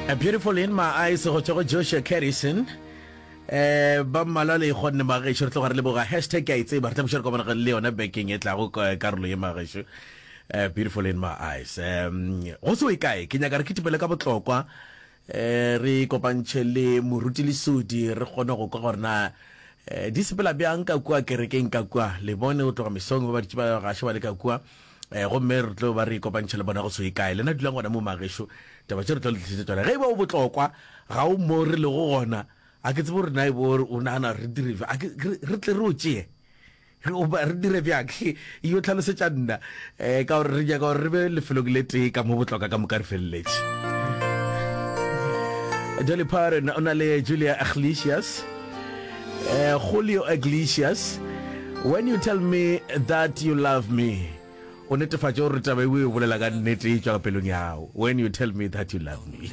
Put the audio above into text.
A Beautiful in My Eyes go tšwa go Joshua Carrison. Eh ba mmalwa le kgonne magešo re tloga re leboga hashtag ke a e tseba re tla buša re kopana le yona bekeng e tlago karolo ye magešo. Eh Beautiful in My Eyes. Um go se o kae ke nyaka re kitimele ka botlokwa eh re kopantšhe le moruti Lesodi re kgone go kwa gore na eh di sepela bjang ka kua kerekeng ka kua le bone go tloga mesong ba ba ditše ba gaše ba le ka kua. Eh, gomme re tlo ba re ikopantšha le bona go se ye kae. Lena dulang gona mo magešo, taba tše re tlo le tlišetša tšona. Ge e ba o botlokwa, ga o mo re lego gona, a ke tsebe gore na e bo o nagana re dire bjang. A ke, re, re tle re o tšee. Re, o ba, re dire bjang? Yo tlhalosetša nna, eh, ka gore re nyaka gore re be lefelong le tee ka mo botlokwa ka moka re feleletše. Dolly Parton o na le Julia Iglesias. Eh, Julio Iglesias, when you tell me that you love me, o netefatše gore taba e o e bolela ka nnete e tšwa ka pelong ya gago. When you tell me that you love me.